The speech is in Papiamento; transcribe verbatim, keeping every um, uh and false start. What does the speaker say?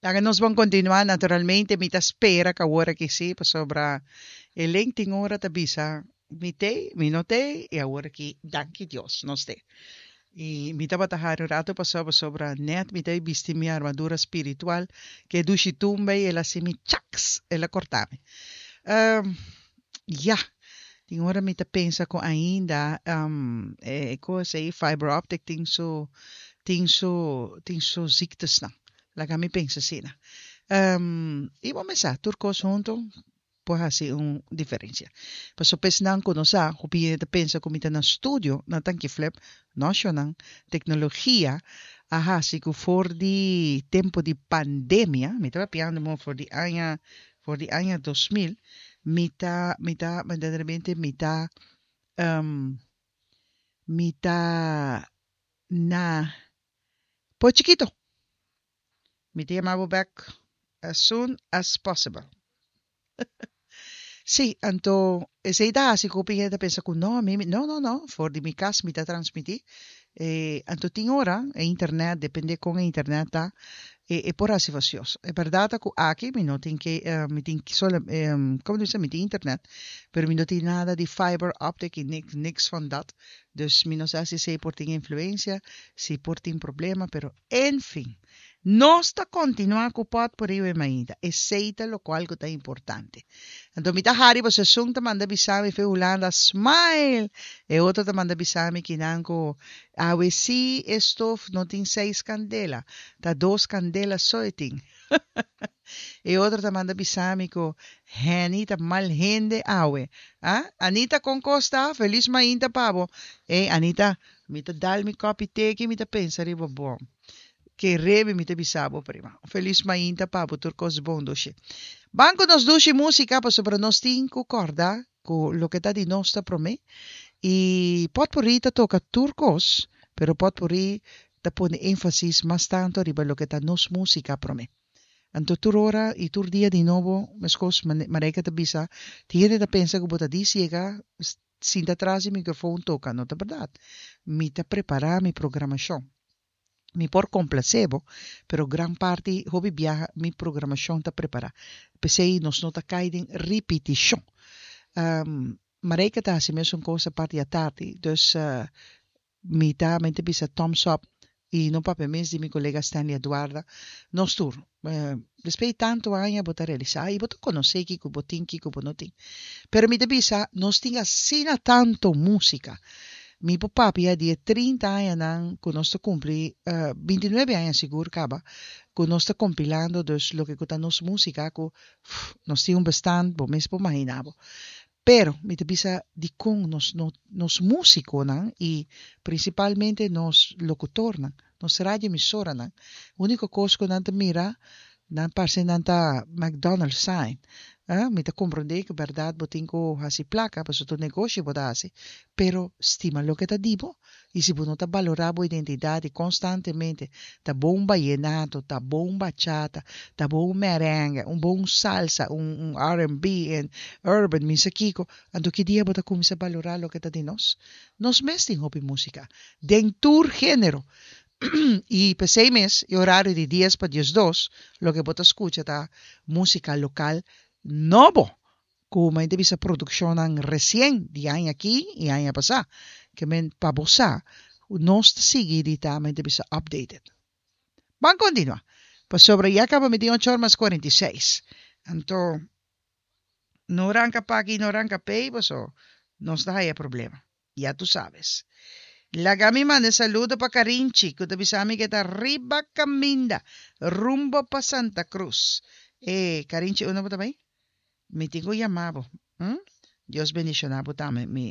Laga nos ban kontinuá. Naturalmente, mi ta spera ku awor aki sí, pasobra e link tin ora ta bisa mi t'ei, mi no t'ei, i awor aki, danki Dios, nos t'ei. I mi tabata hari un ratu pasó pasobra net mi ta bisti mi armadura spiritual, ku dushi tumba i el a hasi mi chaks, el a korta mi. Um, ja, tin ora mi ta pensa ku ainda um, e kos ei fiber optic tin su tin su tin su ziektesnan. Laga mi pensa asina. Um, i ban pensa, tur kos huntu por hasi un diferensia. Paso pesnan ku no sa, hopi hende ta pensa ku mi ta na studio, na Tanki Flip, no shonnan, teknologia a hasi ku for di tempu di pandemia, mi ta papiando mo for di aña, for di aña dos mil, mi ta, mi ta, verdaderamente mi ta, um, mi ta na Pos Chiquito. Mi ta yama bo back as soon as possible. Sí, anto esei ta hasi ku hopi hende ta pensa ku no, mi, no, no, no, for di mi kas mi ta transmití. E, anto tin ora, e internet, depende kon e internet ta, e, e por hasi fastioso. E bèrdat ta ku aki mi no tin ke, eh, mi tin solo, eh, komo ta bisa, mi tin internet, pero mi no tin nada di fiber optic i niks, niks van dat. Dus mi no sa si esei por tin influensia, si por tin problema, pero en fin. Nos ta kontinuá ku Pòtpurrí We Mainta. Esei ta lokual ku ta importante. Anto mi ta hari pasobra esun ta manda bisa mi fe Hulanda smile. E otro ta manda bisa mi kinan ku awe sí e stof no tin seis kandela, ta dos kandela so e tin. E otro ta manda bisa mi ku Henny ta mal hende awe. Ah, Anita kon kos ta? Felis mainta pa bo. Ey Anita, mi ta dal mi kòpi te ki mi ta pensa riba bo. Ke rebe mi ta bisa bo prima. Un felis mainta pa bo tur kos bon dushi. Ban ku nos dushi músika pasobra nos tin ku kòrda ku loke ta di nos ta promé. I Pòtpurrí ta toka tur kos, pero Pòtpurrí ta pone énfasis mas tantu riba loke ta nos músika promé. Anto tur ora i tur dia di nobo meskos Marijke ta bisa, tin hende ta pensa ku bo ta dis yega sinta tras di mikrofon toka. No ta bèrdat. Mi ta prepará mi programashon. Mi por komplasé bo, pero gran parti hopi biaha mi programashon ta prepará. P'esei nos no ta kai den ripitishon. Marijke ta hasi mesun kos apart di atardi, dus mi ta mi ta bisa thumbs up i no papia mes di mi kolega Stanley Eduarda. Nos tur, despues di tantu aña bo ta realisá i bo ta konosé kiko bo tin, kiko bo no tin. Pero mi ta bisa nos tin asina tantu músika. Mi por papia di e trinta añanan ku nos ta kumpli, binti nuebe aña sigur kaba, ku nos ta kompilando dus loke ku ta nos músika ku nos tin un bestand bo mes por imaginá bo. Pero mi ta bisa dikon nos no nos músikonan i prinsipalmente nos lokutornan, nos radioemisoranan, úniko kos ku nan ta mira nan parse nan ta McDonald's sign. Mi ta komprondé ku bèrdat bo tin ku hasi plaka pasobra tur negoshi bo ta hasi, pero stima loke ta di bo i si bo no ta balorá bo identidat i konstantemente ta bo un bayenato, ta bo un bachata, ta bo un merengue, un bo un salsa, un un R and B en urban, mi sa kiko, anto ki dia bo ta kuminsá balorá loke ta di nos? Nos mes tin hopi músika den tur género i p'esei mes e orario di dies pa diesdos loke bo ta skucha ta músika lokal nobo ku mi ta bisa produkshonnan resien di aña aki i aña pasá ke men pa bo sa nos ta sigui di ta mi ta bisa updated. Ban kontinuá pasobra ya kaba mi tin ocho or mas kuarenta i seis anto no ranka p'aki no ranka p'ei paso nos ta haya problema ya tu sabes. Laga mi manda e saludo pa Carinchi ku ta bisa mi ke ta riba kaminda rumbo pa Santa Cruz. E Carinchi unda bo ta bai? Mi tin ku yama bo. Hm? Dios bendiciona bo tambe mi.